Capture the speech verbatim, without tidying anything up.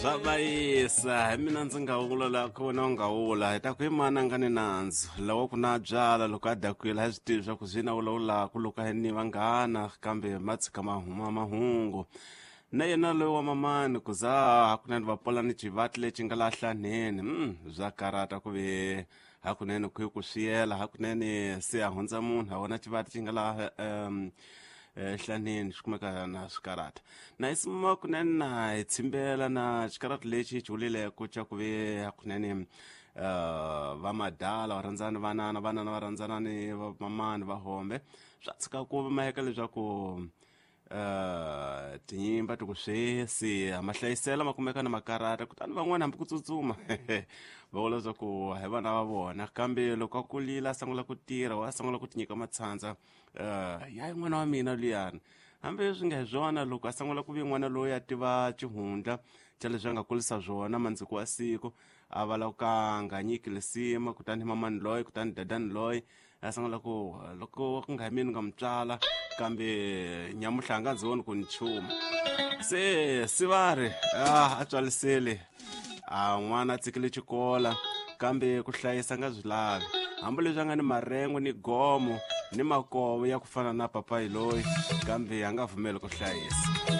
Swa bayisa hi mina ndzi nga wula la ku wena u nga wula hi ta ku i mani a nga ni nandzu lawa ku na byala loko a dakwile a swi tivi swa ku swi na vulavulaka loko a ni vanghana kambe ma tshika ma huma mahungu na yena loyi wa mamani ku za hakunene va pola ni xivati lexi nga laha hlaneni mm, bya karata ku ve hakunene ku yi ku swiyela hakunene se a hundza munhu a vona xivati xi nga laha um hlaneni xi kumeka na swikarata na hi sima kunene na hi tshimbela na xikarata lexi xi vulileko xa ku ve hakunene uh, va madala va rhandzana vanana vanana va rhandzana ni vamamani va hombe swa tshika ku maheka leswaku uh, tinyimba ti ku swesi mahlayisela ma kumeka na makarata kutani van'wana hambi ku tsutsuma va vula leswaku hi vana va vona kambe loko a kulile a sungula ku tirha wa sungula ku tinyika matshandza uh, ya n'wana wa mina luyani hambi swi nga hi swona loko a sungula ku vi n'wana loyi a tiva xihundla xa leswi a nga kulisa swona mandziko wa siku a va lava ka nga nyiki lisima kutani mamani loyi kutani dadani loyi a sungula ku loko ku nga hi mina nga mu tswala kambe nyamuhla a nga ndzi voni ku ni chuma se se va ri a a tswalisele a n'wana a tshikile xikola kambe ku hlayisa nga swi lavi hambileswi a nga ni marengo ni gomo ni makovo ya ku fana na papayi loyi kambe a nga pfumeli ku hlayisa.